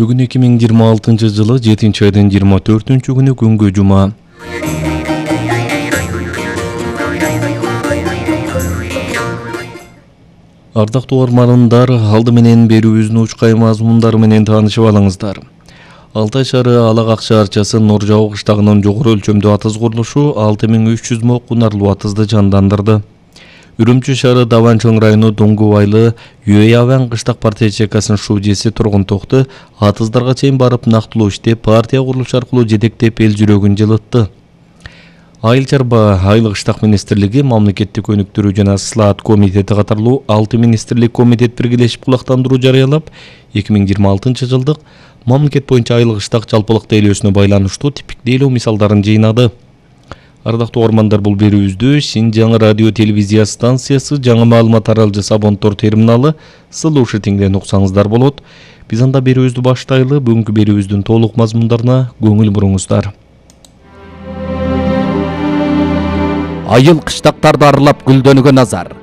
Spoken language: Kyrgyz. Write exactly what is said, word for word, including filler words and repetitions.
Бүгүн эки миң жыйырма алтынчы жылы жетинчи айдын жыйырма төртүнчү күнү күнгө жума. Ардактуу угармандар, алды менен берүүбүздүн учкай мазмундары менен таанышып алыңыздар. Алтай шаары Алагак шаарчасы Нур Жабы кыштагынын жогору өлчөмдүү атыз курулушу алты миң үч жүз мо кунарлуу атызды жандандырды. Үрүмчү шаары Даван-Чоң району Дуңгу айылы Юэяван кыштак партия ячейкасынын шужеси Тургун Токту атыздарга чейин барып нактылуу иштеп, партия курулушу аркылуу жетектеп эл жүрөгүн жылытты. Айыл чарба айыл кыштак министрлиги, мамлекеттик өнүктүрүү жана слаат комитети катарлуу алты министрлик комитет биргелешип кулактандыруу жарыялап, эки миң жыйырма алтынчы жылдык мамлекет боюнча айыл кыштак жалпылык тейлөөсүнө байланыштуу типиктейлөө мисалдарын жыйнады. Ардактуу угармандар, бул берүүбүздү Шинжаң радио телевизия станциясы жаңы маалымат таралжысы Абонтор терминалы слушателиңден уксаңыздар болот. Биз анда берүүбүздү баштайлы. Бүгүнкү берүүбүздүн толук мазмундарына көңүл буруңуздар. Айыл кыштактарды аралап гүлдөнгөн назар.